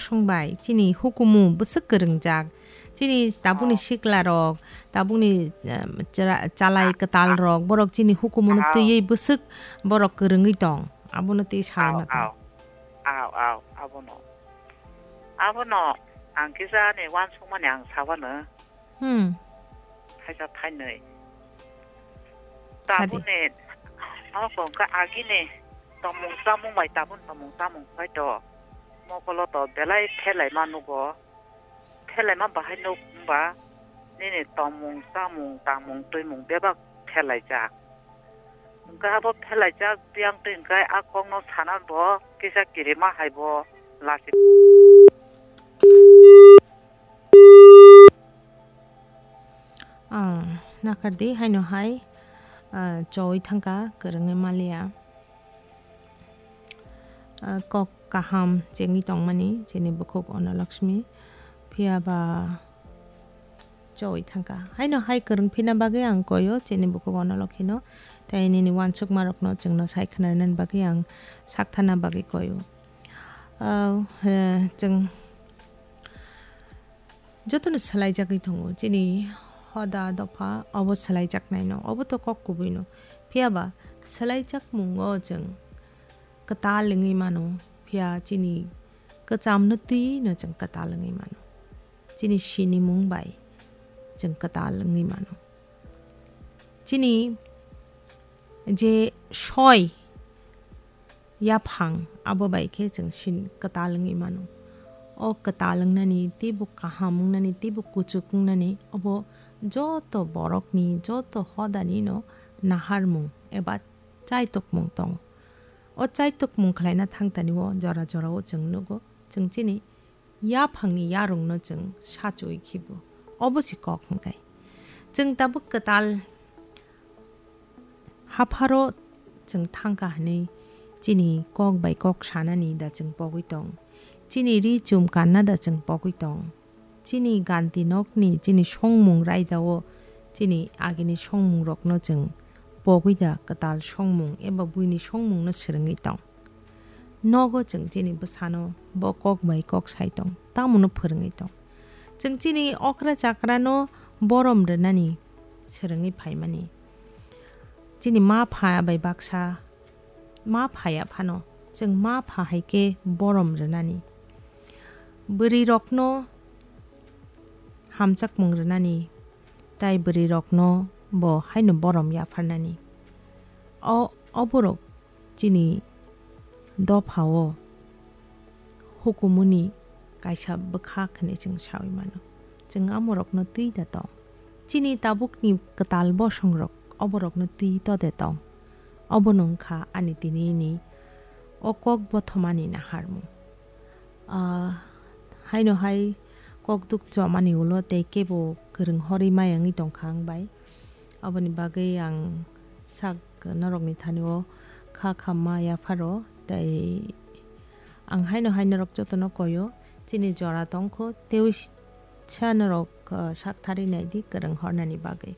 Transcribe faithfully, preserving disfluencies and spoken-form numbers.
Songbai, chini hukumu bwswk kwrwngjak. Chini tabukni Oh. siklarok, tabukni, eh, chara-, chalai kwtalrok, borok chini hukumuno Oh. twiwi bwswk borok kwrwngwi tong. Abono twi salai Oh, ma tong. Oh. Oh, oh, abono. Abono ang kisa ani uansukmani ang sabano. Hmm. Thaisa thainwi. Sadi. Tabukni, oh, kok kha agini tongmung chamung bai tabuk tongmung chamung bai to. Mokolo to belai phelai ma nugo. Phelai ma bahai nuk wngba nini tongmung chamung tangmung twimung bebak phelaijak. Hwnkhe abo phelaijak biyang twi hwnkhe a kokno sana bo kisa kirima hai bo lasi. Ah, nakardi haino hai, ah, choi thangka kwrwngwi maliya. Ah, kok kaham chengwi tongmani chini bukhuk Onolakshmi. Phiya ba choi thangka. Haino hai kwrwng phina bagwi ang koyo chini bukhuk Onolokhino. Tei nini uansukmarokno chwngno sai khwnanani bagwi ang sakthana bagwi koyo. Ah, eh, chwng jotono swlaijagwi tongo. Chini hoda dopha obo swlaijaknaino. Obo to kok kubuino. Phiya ba swlaijakmungo chwng kwtal wngwi mano. Phiya chini kwchamno twino chwng kwtal wngwi mano. Chini sinimung bai chwng kwtal wngwi mano. Chini je soi yaphang abo bai khe chwng sin kwtal wngwi mano. O kwtal wngnani teibo kaham wngnani teibo kuchuk wngnani obo joto borokni joto hodanino naharmung eba chaitokmung tongo. O chaitokmung khlaina thangtani o jora jora o chwng nugo chwng chini yaphangni yarwngno chwng sachuwi khibo. Obo se kok hwnkhe. Chwng tabuk kwtal hapharo chwng thangkha hwnwi chini kok bai kok sanani da chwng pogwi tong. Chini ri chum kanna da chwng pogwi tong. Chini ganti nokni chini songmung raidao chini agini songmungrokno chwng pogwi da kwtal songmung eba buini songmungno swrwngwi tong. Nogo chwng chini bwsano bo kok bai kok sai tong, tamono phwrwngwi tong. Chwng chini okra chakrano borom rwnani swrwngwi phaimani. Chini ma pha bai baksa, ma phaya phano chwng ma pha hai khe borom rwnani. Bwrwirokno hamjakmung rwnani, tai bwrwirokno bo haino borom yapharnani. O, oborok chini dophao hukumuni kaisa bwkha hwnwi chwng saui mano. Chwng amorokno twi da tong. Chini tabukni kwtal bosongrok oborokno twi to de tong. Obono wngkha ani tinini o kok bothomani naharmung. Ah, haino hai kok duk chomani ulo tei kebo kwrwng horwi maya wngwi tongkha ang bai. Aboni bagwi ang sak norokni thani o kha khamma yapharo tei ang haino hai norok jotono koyo chini jora tongkho tei sa norok, ah, sak thari naidi kwrwng hornani bagwi.